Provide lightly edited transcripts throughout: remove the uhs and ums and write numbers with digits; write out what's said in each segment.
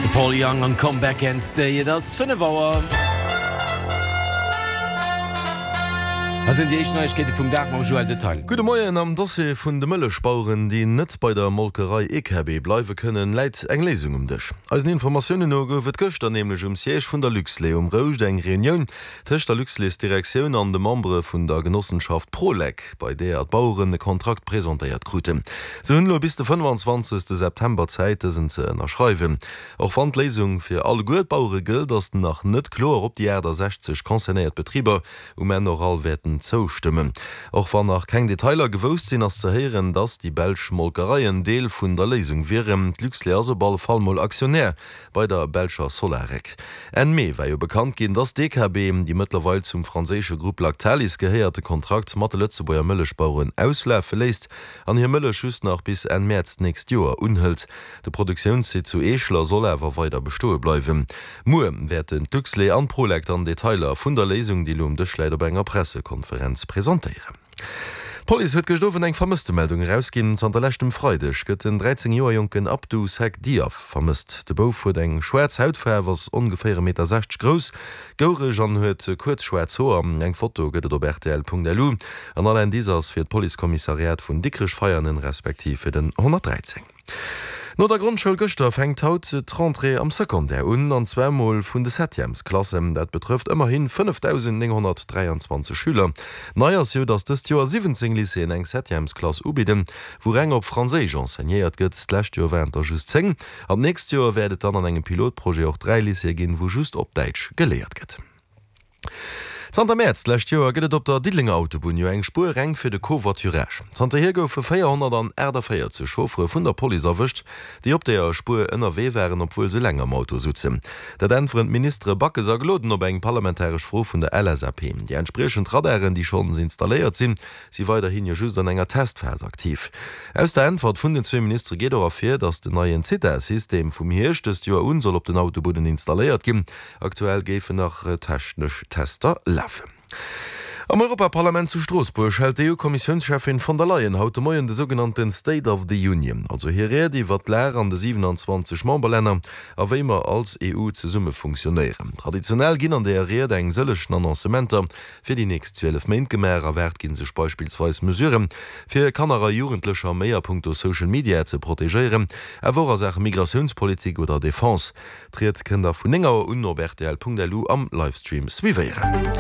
De Paul Young an Come Back and Stay. Et ass 5 Auer. Hei sinn déi éischt Neiegkeete vum Dag mam Joël Detaille. Gudde Moien, Am Dossier vun de Mëllechbaueren, déi net bei der Molkerei EKB bleiwe kënnen, läit eng Léisung um Dësch. Eisen Informatiounen no gouf et gëschter nämlech um Siège vun der Luxlait um Rouscht eng Reunioun tëscht der Luxlait-Direktioun an de Membere vun der Genossenschaft Prolec, bei deeër d'Baueren e Kontrakt presentéiert kruten. Se hunn elo bis de 25 September Zäit, dësen ze ënnerschreiwen. Och wann d'Léisung fir alleguer d'Bauere gëllt, ass nach net kloer, ob déi 68 concernéiert Betriber um Enn och all wäerten zoustëmmen. Och wann nach keng Detailer gewousst sinn, ass ze héieren, datt déi belsch Molkereien Deel vun der Léisung wieren. D'Luxlait ass op alle Fall mol Aktionär bei der belscher Solarec. Enn Mee war jo bekannt ginn, datt d'EKB, déi mëttlerweil zum franséische Grupp Lactalis gehéiert, de Kontrakt mat de Lëtzebuerger Mëllechbaueren auslafe léisst an hir Mëllech just nach bis Enn Mäerz d'nächst Joer unhëlt. De Produktiounssite zu Eeschler soll awer weider bestoe bleiwen. Muer wäerten d'Luxlait an d'Prolec dann Detailer vun der Léisung, déi elo um Dësch läit, op enger Pressekonferenz presentéieren. D'Police huet gëscht Owend eng Vermësstemeldung erausginn. Zanter leschtem Freideg gëtt den 13 Joer jonken Abdou Seck Diaf vermësst. De Bouf huet eng schwaarz Hautfaarf, ass ongeféier e Meter 60 grouss, goureg an huet kuerz schwaarz Hoer. Eng Foto gëtt et op rtl.lu an all Indice ass fir d'Policekommissariat vun Dikrech-Veianen respektiv fir den 113. No der Grondschoul gëschter fänkt haut d'Rentrée am Secondaire un, an zwar mol vun de Septièmesklassen. Dat betrëfft ëmmerhi 5.923 Schüler. Nei ass jo, datt dëst Joer 17 Lycéeën eng Septièmesklass ubidden, wou reng op Franséisch enseignéiert gëtt. D'lescht Joer waren et der just 10 an d'nächst Joer wäert et dann an engem Pilotprojet och 3 Lycéeë ginn, wou just op Däitsch geléiert gëtt. Zanter Mäerz d'lescht Joer gëtt et op der Diddelenger Autobunn jo eng Spuer reng fir de Covoiturage. Zanterhier goufe 448 Chauffere vun der Police erwëscht, déi op deeër Spuer ënnerwee waren, obwuel se eleng am Auto sutzen. Dat äntweren d'Ministere Backes a Gloden op eng parlamentaresch Fro vun der LSAP. Déi entspriechend Radaren, déi schonns installéiert sinn, si weiderhin jo just an enger Testphas aktiv. Aus der Äntwert vun den zwee Ministere geet och ervir, datt den neien Zitha-System vum Hierscht dëst Joer un soll op den Autobunnen installéiert ginn. Aktuell géifen nach technesch Tester lafen. Am Europaparlament zu Stroossbuerg hält d'EU-Kommissiounscheffin von der Leyen haut de Moien de sougenannte State of the Union, also hir Ried iwwer d'Lag an de 27 Memberlänner a wéi mer als EU zesumme funktionéieren. Traditionell ginn an deeër Ried eng sëllegen Annoncementer fir déi nächst 12 Méint gemaach. Erwaart gi sech beispillsweis Mesuren, fir Kanner a Jugendlecher méi a punkto Social Media ze protegéieren, awer och a Saache Migratiounspolitik oder Defense. D'Ried kënnt der vun 9 Auer un op rtl.lu am Livestream suivéieren.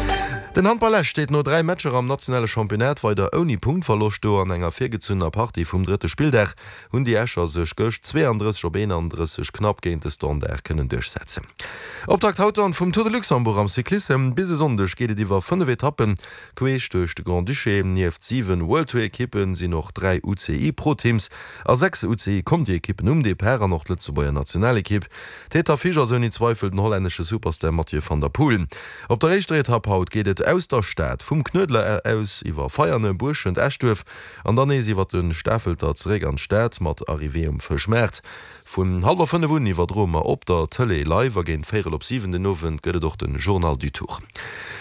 Den Handball Esch steet no 3 Matcher am nationale Championnat weider ouni Punktverloscht do. An enger virgezunnener Partie vum drëtte Spilldag hunn déi Escher sech gëscht 32 op 31 knapp géint de Standard kënnen duerchsetzen. Optakt haut dann vum Tour de Luxembourg am Cyclissem. Bis e Sonndeg geet et iwwer 5 Etappen queesch duerch de Grand-Duché. Nieft 7 World Tour Ekippen sinn och 3 UCI Pro Teams A 6 UCI-Conti-Ekippen um Depart an och d'Lëtzebuerger Nationalekipp. Tête d'affiche ass ouni Zweifel den hollännesche Superstar Mathieu van der Poel. Op der éischter Etapp haut geet et aus der Stad, vum Knuedler aus, iwwer Veianen, Buerschent, Eschduerf an dann nees iwwer de Stafelter zeréck an d'Stad mat Arrivée um Fëschmaart. Vun hallwer 5 un iwwerdroe mer op der Tëlee live a géint véierel op 7 den Owend gëtt et och de Journal du Tour.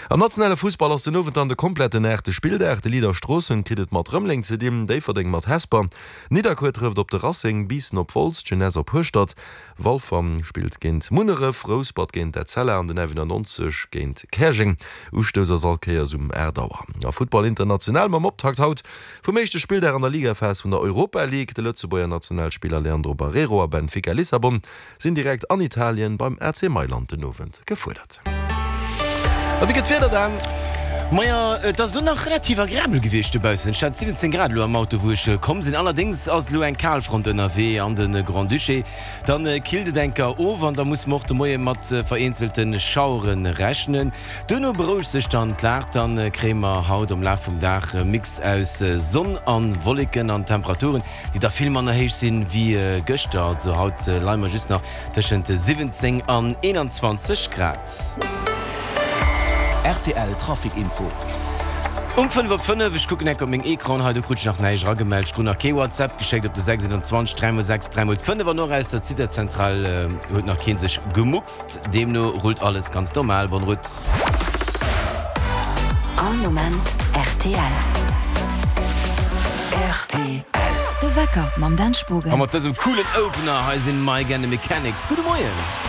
Am nationale Fussball ass den Owend dann de kompletten aachte Spilldag. De Leader Stroossen kritt et mat Rëmeleng ze dinn, Déifferdeng mat Hesper, Nidderkuer trëfft op de Racing, Biissen op Wolz, d'Jeunesse op Hueschtert, Walfer spillt géint Munneref, Rouspert géint Etzella an den F91 géint Käerjeng. Ustouss ass all Kéiers um 8 Auer. A Futtball international mam Optakt haut vum éischte Spilldag an der Ligaphas vun der Europa League. De Lëtzebuerger Nationalspiller Leandro Barreiro a Benfica Lissabon sinn direkt an Italien beim AC Mailand den Owend gefuerdert. A wéi gëtt d'Wieder dann? Maja, et ass elo nach relativ agreabel gewiescht dobaussen. Ech hat 17 Grad elo am Auto, wou ech komm sinn. Allerdéngs ass elo eng Kalfront ënnerwee an de Grand-Duché. Dann killt et enker of an da musse mer och de Moie mat vereenzelte Schauere rechnen. Duerno berouegt sech dann d'Lag, dann kréie mer haut am Laf vum Dag e Mix aus Sonn an Wolleken an Temperaturen, déi da vill manner héich sinn wéi gëschter. Also haut leie mer just nach tëschent 17 an 21 Grad. Rtl Trafic Info. Um 5 op 5, ech kucken enk op meng Ecran hei, do krut ech nach näischt eragemellt. Ech krut nach kee WhatsApp geschéckt op de 621 3 x 6 3 x 5 an och aus der Zitazentral huet nach kee sech gemuckst. Deemno rullt alles ganz normal. Bonne route. All Moment rtl. Rtl. De Wecker mam Dan Spogen. A mat dësem coolen Opener hei sinn Mike and the Mechanics. Gudde Moien!